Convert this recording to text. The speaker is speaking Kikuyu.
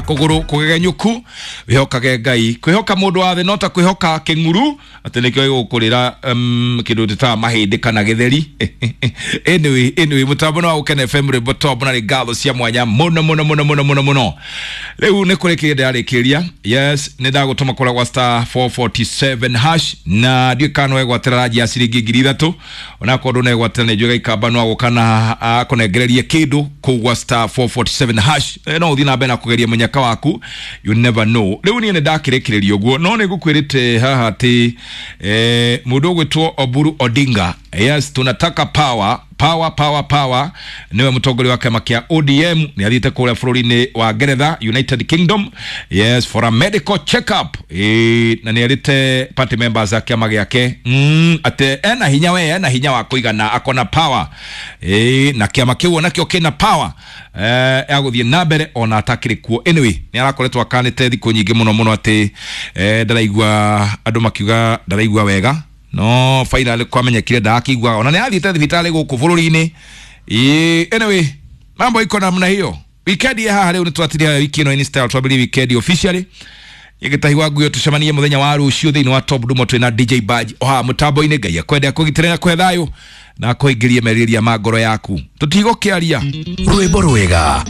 Kũgũrũ kũgegenyũku, wĩhokage Ngai. Kwĩhoka mũndũ wa thĩ no ta kwĩhoka kĩng'uru atĩ nĩkĩo gĩgũkũrĩra kĩndũ tĩtaga mahĩndĩ kana gĩtheri. Anyway, mũtambo nĩ wa Gũkena FM, rwĩmbo top, na nĩ ngatho cia mwanya mũno mũno mũno mũno mũno mũno. Rĩu nĩ kũrĩkĩria ndĩrarĩkĩria. Yes, nĩ ndagũtũma kũrĩa gwa *447# na ndiũĩ kana no wegwatĩra ranji ya ciringi 3000. Onakorwo ndũnegwatĩra, nĩ njũĩ gaikamba no agũka na akũnengererie kĩndũ kũu gwa *447#. No ũthiĩ na mbere na kũgeria mũnyaka waku, you never know. Rĩu niĩ nĩ ndakĩrĩkĩrĩria ũguo, no nĩ ngũkwĩrĩte haha atĩ mũndũ ũgwĩtwo Oburu Odinga, yes, tunataka power, power, power, power, niwe mũtongoria wa kĩama kĩa ODM, nĩ athiĩte kũrĩa bũrũri-inĩ wa Ngeretha, United Kingdom, yes, for a medical check up. Na nĩ erĩte party members a kĩama gĩake atĩ ena hinya, we ena hinya wa kũigana, akona power, na kĩama kĩu onakĩo kĩna power ya gũthiĩ na mbere ona atakĩrĩ kuo. Anyway, nĩ arakoretwo akanĩte thikũ nyingĩ mũno mũno atĩ ndaraigua, andũ makiuga ndaraigua wega, no finally kwamenyekire ndakĩiguaga, ona nĩ athiĩte thibitarĩ gũkũ bũrũri-inĩ. Ĩĩ, anyway, mambo iko namna hiyo. Weekend ya haha rĩu nĩ twatiria wiki ĩno in style, twambĩrĩrie weekend officially. Gĩtahi wa nguo, tucemanie mũthenya wa rũciũ thĩinĩ wa Top Dumo, twĩna DJ Badge o haha mũtambo-inĩ. Ngai akwende, akũgitĩre na kũhe thayũ na akũingĩrie merirĩria ma ngoro yaku. Tũtigũkĩaria. Rwĩmbo rwega.